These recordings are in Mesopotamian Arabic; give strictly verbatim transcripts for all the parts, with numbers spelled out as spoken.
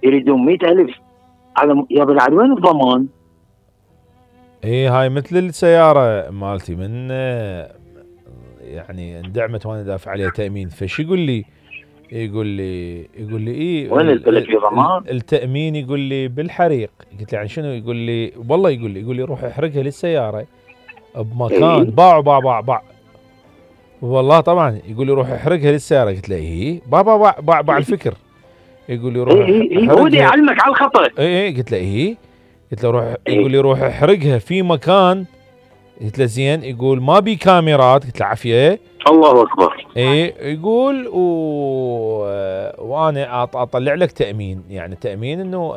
يريدون مئة ألف على يا بالعاد وين الضمان؟ ايه هاي مثل السيارة مالتي من يعني اندعمت وانا دافع عليها تأمين، فش يقول لي يقول لي يقول لي ايه وين البلد في ضمان؟ التأمين يقول لي بالحريق. قلت له يعني شنو؟ يقول لي والله يقول لي يقول لي روح احرقها للسيارة بمكان إيه؟ باع باع باع باع والله طبعا يقول لي روح احرقها للسيارة. قلت له ايه بابا باع باع باع الفكر. يقول لي روح إيه إيه هو يعلمك على الخطأ. اي اي قلت له ايه قلت له روح. يقول لي روح احرقها في مكان. قلت له زين. يقول ما بي كاميرات. قلت له عافيه. الله اكبر. ايه يقول و... وانا اطلع لك تامين، يعني تامين انه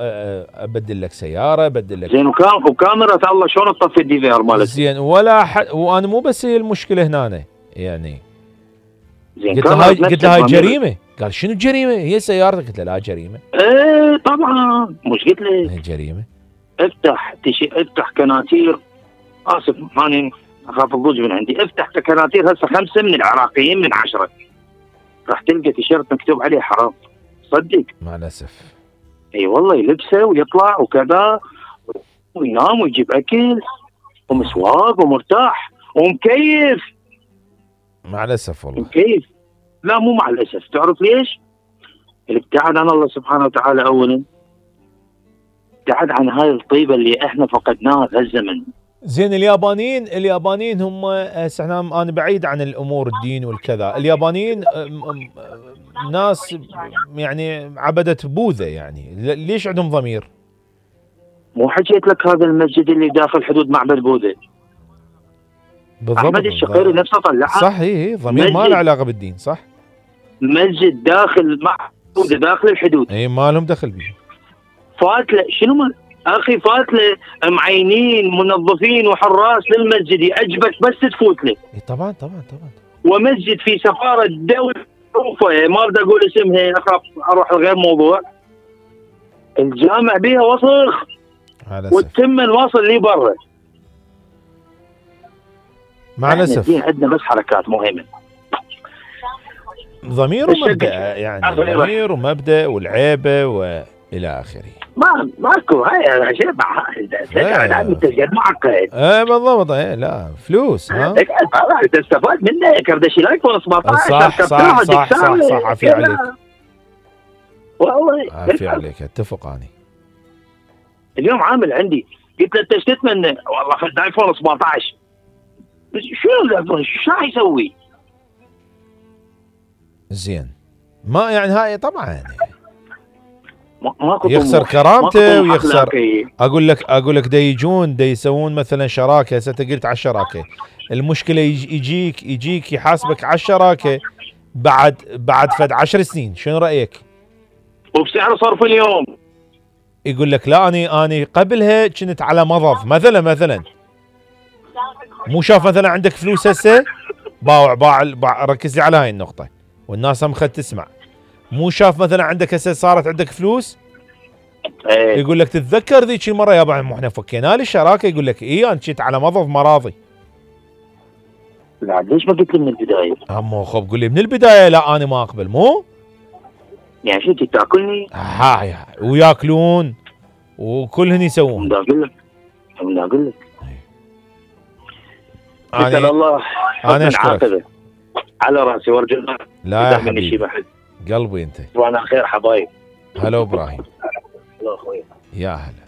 ابدل لك سياره ابدل لك زين. وكان وكاميرا الله شلون تطفي الدي في ار مالتك؟ زين ولا حد. وانا مو بس هي المشكله هنا يعني. زين قلت له هاي قلت له هاي جريمه. قال شنو الجريمه؟ هي سيارتك. قلت له لا جريمه. ايه طبعا مش قلت لك هي جريمه. افتح تشي افتح كناتير. اسف ماني اخاف الضوج من عندي. افتح كناتير هسه خمسه من العراقيين من عشره راح تلقى تيشيرت مكتوب عليه حرام. صدق مع الاسف. اي والله يلبسه ويطلع وكذا وينام ويجيب اكل ومسواق ومرتاح ومكيف. مع الاسف والله مكيف. لا مو مع الاسف. تعرف ليش؟ الابتعاد عن الله سبحانه وتعالى اولا، ابتعاد عن هاي الطيبه اللي احنا فقدناها في هالزمن. زين اليابانيين اليابانيين هم هسه احنا انا بعيد عن الامور الدين والكذا. اليابانيين ناس يعني عبدة بوذا، يعني ليش عندهم ضمير؟ مو حكيت لك هذا المسجد اللي داخل حدود معبد بوذا؟ بالضبط. احمد الشقيري نفسه طلعها. صح. هي ضمير ما له علاقه بالدين. صح. مسجد داخل معبد بوذا داخل الحدود. اي ما لهم دخل به. فات له شنو ما اخي فات له معينين منظفين وحراس للمسجد يعجبك بس تفوت له. اي طبعا طبعا طبعا. ومسجد في سفاره دوله معروفه ما بدي اقول اسمها اخاف اروح لغير موضوع. الجامع بيها وسخ والتمن واصل لي برا. مع الاسف عندنا بس حركات مهمه. ضمير ومبدا، يعني ضمير ومبدا والعيبه والى اخره. ما ماكو هاي شيء هذا تجد معقد. ايه بالضبط. ايه لا فلوس. ها تستفاد منه كردشي الايفون سبعطعش. صح صح صح صح صح. عافية عليك والله عافية عليك. اتفق اني. اليوم عامل عندي قلت له انت ايش تتمنى؟ والله خذ ايفون سبعطعش. شو الايفون شو راح يسوي؟ زين ما يعني هاي طبعا يعني ماكو يخسر كرامته ويخسر. اقول لك اقول لك دا يجون دا يسوون مثلا شراكه. هسه انت قلت على الشراكه، المشكله يجيك يجيك يحاسبك على الشراكه بعد بعد فد عشر سنين. شنو رايك؟ وبسعر صرف اليوم. يقول لك لا اني اني قبلها كنت على مضض مثلا مثلا مو شاف مثلا عندك فلوس هسه باوع باع, باع. ركز لي على هاي النقطه والناس هم خد تسمع. مو شاف مثلا عندك هسه صارت عندك فلوس ايه. يقول لك تتذكر ذيك المره يابا احنا فكينا لي الشراكه. يقول لك اي انا كنت على مضض مراضي. لا ليش ما قلت لي من البدايه؟ مو خب قول لي من البدايه لا انا ما اقبل. مو يعني شو تاكلني؟ هاي وياكلون وكلهن يسوون. بدي اقول لك بدي اقول لك انا الله انا اشكرك على راسي وارجو لا يا حبيبي قلبي انت. وانا خير حبايب. هلا ابراهيم. هلا اخوي. يا هلا.